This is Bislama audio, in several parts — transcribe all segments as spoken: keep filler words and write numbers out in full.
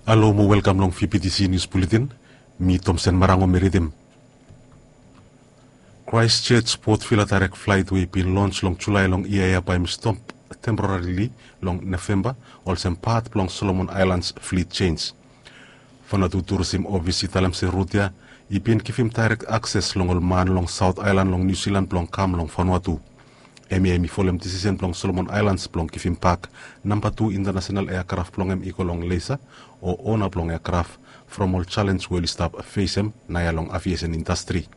Halo mo welkam long V P T C News Bulletin. Mi Tomsen Marango mi ridim. Christchurch Port Vila direct flight we i bin lons long Julae long yia ya bae i stop temporarili long Novemba olsem pat blong Solomon Islands fleet change. Vanuatu Tourism Office i talem se rut ya i bin givim direct access long ol man long South Island long New Zealand blong kam long Vanuatu. Hemia hemi folem disisen blong Solomon Islands blong givim bak namba tu international aircraft blong hem i go long Laser o ona blong aircraft from ol challenge we oli stap fesem naoia long aviation industry.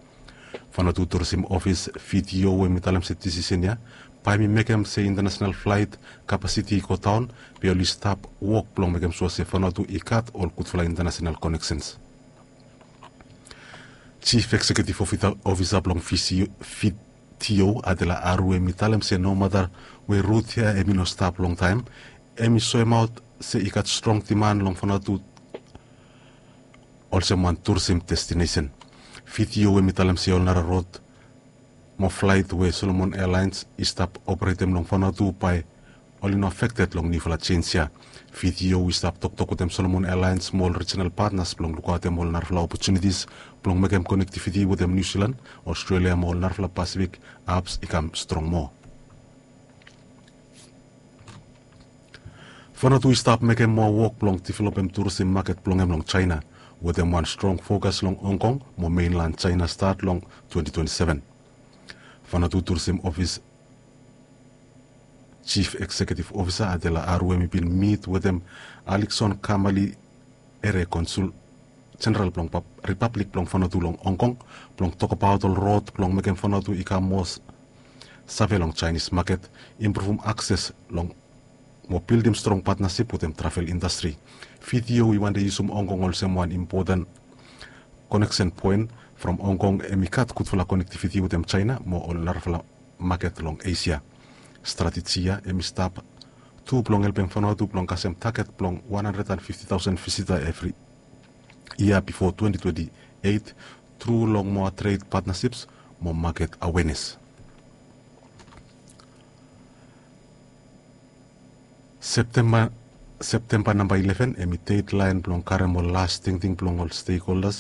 Vanuatu Tourism Office, V T O, hemi talem se disisen ya bae hemi mekem se international flight capacity i go daon, be oli stap wok blong mekem sua se Vanuatu i gat ol gudfala international connections. Chief Executive Officer blong V T O, Adela Aru, hemi talem se nomata we rut ya hemi no stap longtaem, hemi soemaot se i gat strong demand long Vanuatu olsem wan tourism destination. V T O hemi talem se ol nara rut mo flaet we Solomon Airlines i stap operetem long Vanuatu bae oli no afekted long niufala jenj ya. V T O i stap toktok wetem Solomon Airlines mo ol regional partners blong lukaotem ol narafala opportunities blong mekem connectivity wetem New Zealand, Australia mo ol narafala Pacific hubs i kam strong moa. Vanuatu i stap mekem moa wok blong developem tourism maket blong hem long China, wetem wan strong fokas long Hong Kong mo mainland China stat long twenty twenty-seven. Vanuatu Tourism Office Chief Executive Officer Adela Aru hemi bin mit wetem Alison Kamali Ere, Konsul Jeneral blong Ripablik blong Vanuatu long Hong Kong, blong tokbaot ol rod blong mekem Vanuatu i kam moa save long Chinese maket, impruvum akses long mo bildim strong patnasip wetem travel indastri. V T O i wante yusum Hong Kong olsem wan impoten koneksen poen. From Hong Kong hemi gat gudfala konektiviti wetem China mo ol narafala maket long Esia. Strateji ya hemi stap tu blong helpem Vanuatu blong kasem taget blong wan handred and fifti taosen visita evri yia bifo twenty twenty-eight tru long moa tred patnasips mo maket awenes. Septemba, Septemba namba ileven hemi dedlaen blong karem ol las tingting blong ol stekholdas